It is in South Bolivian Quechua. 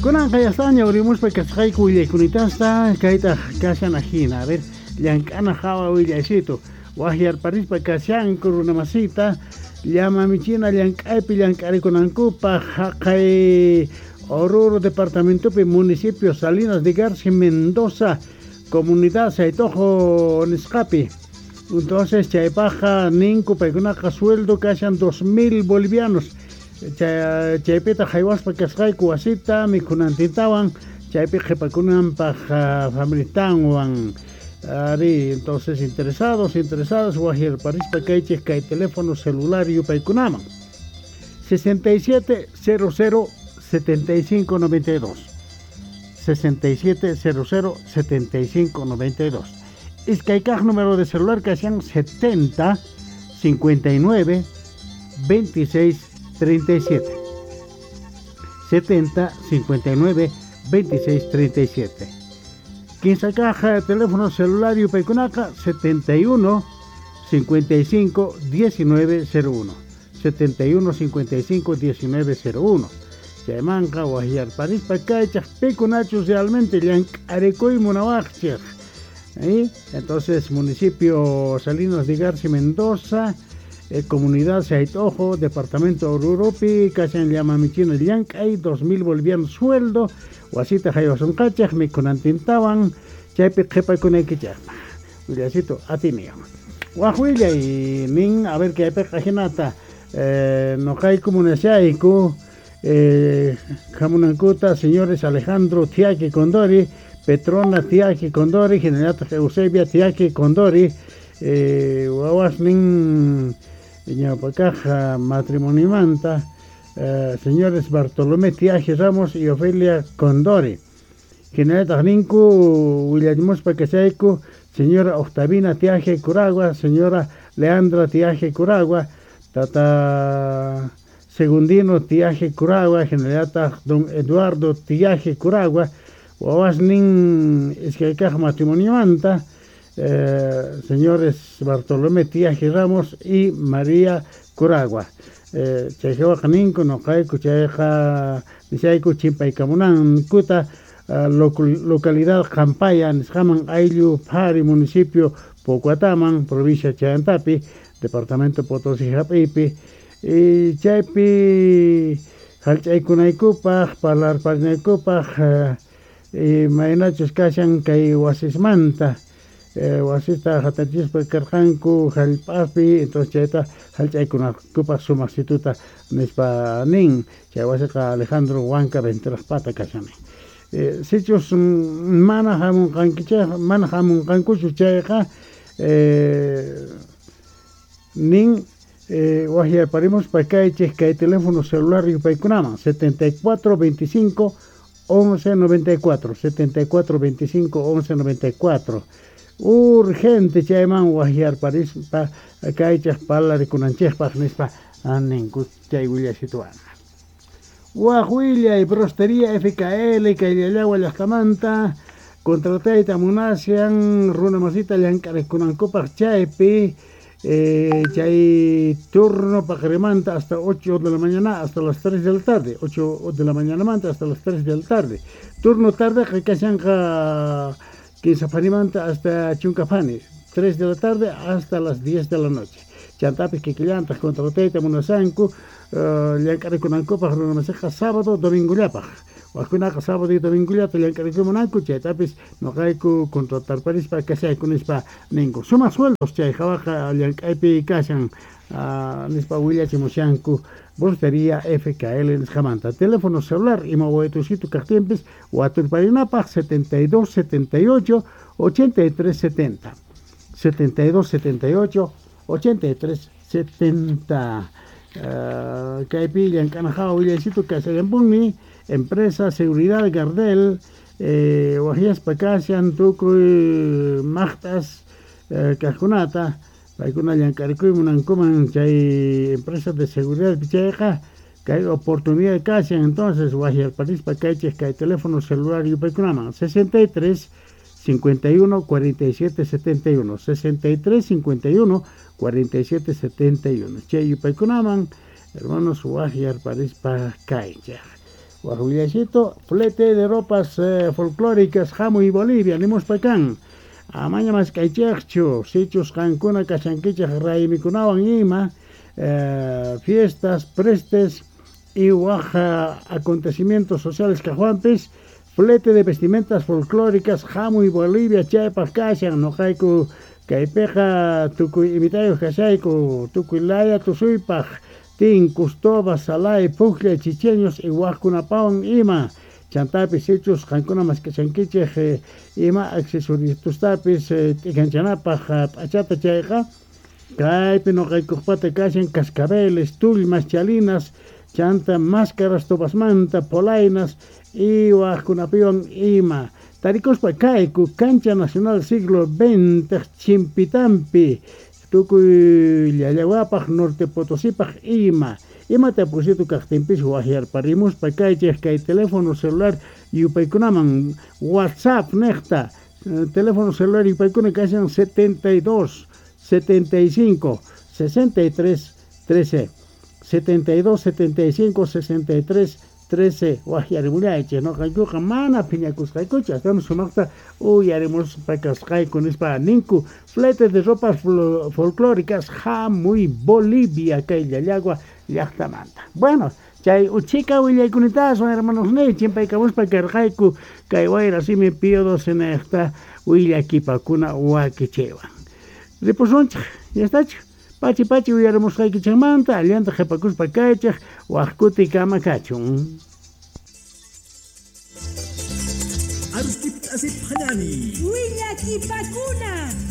Kunanqa ya ñawrimuspa kasqayku willaykunitasta kaytaq kashan ajina. A ver, llank'ana hawa willaysitu. Waqyarparispa kashanku runamasita llama michina llank'aypi llank'arikunankupaq haqay Oruro departamentopi municipio Salinas de Garci Mendoza comunidad Saitojo nisqapi. Entonces chaypaqqa ninku paykunaqa sueldo kashan 2000 bolivianos. Chaypitaq haywaspa kasqayku wasita mikhunantintawan chaypi qhipakunanpaq familitanwan. Ari, entonces interesados, interesadas, waqyarparispa kaychik kay teléfono celular yupaykunaman. 67 00 75 92. 67 00 75 92. Iskay kaq número de celular kashan 70 59 26 37. 70 59 26 37. Kinsa kaq teléfono celular yupaykunaqa 71 55 19 01. 71 55 19 01. Chaymanqa waqyarparispa kaychaq pikunachus realmente llank'arikuy munawaqchik. ¿Eh? Entonces, municipio Salinas de Garci Mendoza, comunidad Saitojo, departamento Oruropi, kashan llama michina llank'ay, 2000 bolivianos sueldo, wasita haywasunqachaq, mikhunantintawan, chaypi qhipakunaykichaqpaq. Willasito atiniwan. Waj willay nin, a ver kaypiqa jinata, noqayku munashayku, hamunankuta señores Alejandro Tiaki Condori, Petrona Tiaki Condori, hinallataq Eusebia Tiaki Condori, wawasnin ñawpakaq matrimonimanta, señores Bartolomé Tiaje Ramos y Ofelia Condori. Hinallataq ninku willamuspa kashayku señora Octavina Tiaje Curagua, señora Leandra Tiaje Curagua, tata Segundino Tiaje Curagua, hinallataq don Eduardo Tiaje Curagua, wawasnin iskaykaq matrimoniomanta, señores Bartolomé Tiaje Ramos y María Curagua. Chayqa ninku noqayku chayqa nishayku chimpaykamunankuta localidad Qampaya nisqaman ayllu Phari municipio Pocuataman provincia Chayantapi departamento Potosí hap'iypi y chaypi hallch'aykunaykupaq parlarparinaykupaq imaynachus kashan kay wasismanta wasista hatachispa karqanku hallp'api entonces chayta hallch'aykunaykupaq sumaqsituta nispa nin chay wasiqa Alejandro Huanca Venturaqpata kashan. Sichus mana hamunqankichik mana hamunqankuchu chayqa nin waqyarparimuspa kaychik kay teléfono celular yupaykunaman 74 25 11 94 74 25 11 94 urgente chayman waqyarparispa kaychik parlarikunanchikpaq nispa ninku chay willasituwan. Waj willay Brostería FKL kayllallawa llaqtamanta contratayta munashan runa masita llank'arikunankupaq chaypi chay turno paqarimanta hasta 8 de la mañana hasta las 3 de la tarde, 8 de la mañana manta hasta las 3 de la tarde. Turno tarde kashanqa 15 panimanta hasta chunkapani, 3 de la tarde hasta las 10 de la noche. Chantapis kikillantaq contratayta munasanku llank'arikunankupaq runa masiqa sábado domingullapaq. Wajkunaqa sábado y domingullata llank'arikumunanku chaytapis noqayku contratarparispa kashayku nispa ninku. Sumaq sueldos chay hawaqa llank'aypi kashan nispa willachimushanku Brostería FKL nisqamanta. Teléfono celular ima waytusito kaqtinpis waturparinapaq 72 78 83 70. 72 78 83 70. Kaypi llank'ana hawa willaysitu kashallanpuni empresa Seguridad Gardel waqyaspa kashan tukuy maqt'as kaqkunata paykuna llank'arikuy munankuman chay empresa de seguridad chayqa kay oportunidad kashan entonces waqyarparispa kaychik kay teléfono celular yupaykunaman 63 51 47 71 63 51 47 71 chay yupaykunaman hermanos waqyarparispa kaychik. Waj willaycito, flete de ropas folclóricas Hamuy Bolivia, nimuspa kan. Amaña mask'aychejchu, sichus qankuna kashankichej raymikunawan ima, fiestas, prestes y waj acontecimientos sociales kajwanpis, flete de vestimentas folclóricas Hamuy Bolivia chaypaj kashan, noqayku kaypiqa tukuy imitayoj kashayku, tukuy laya tusuypaj, tinkus, tobas, salay, pujlla, chicheños y wajkunapawan ima. Chantapis sichus qankuna mask'ashankichej ima accesoriostapis t'ikanchanapaj p'achata chayqa, kaypi noqaykujpata kashan cascabeles, tullmas, chalinas, chanta máscaras tobasmanta, polainas y wajkunapiwan ima. Tarikuspa kayku Cancha Nacional Siglo XX Chimpitampi, tukuy Llallawapaj, Norte Potosipaj ima. Ima tapusito kajtinpis wajyarparimuspa kaychej kay teléfono celular yupaykunaman WhatsApp nejta, teléfono celular yupaykuna kashan 72 75 63 13, 72 75 63 13. Wajyarimullaychej, noqaykuqa mana phiñakusqaykuchu, astawan sumaqta uyarimuspa kasqayku nispa ninku. Flete de ropas folclóricas Hamuy Bolivia kay Llallagua llaqtamanta. Bueno, chay uchika willaykunitaaswan hermanos niy, chimpaykamuspa karqayku kay wayra simi Pío XII nejta willakipakuna wakichaywan. Ripusunchej, ya estachu. Pachi pachi uyarimusqaykichejmanta, allanta qhipakuspa kaychej, waj kuti kama kachun. Willakipakuna.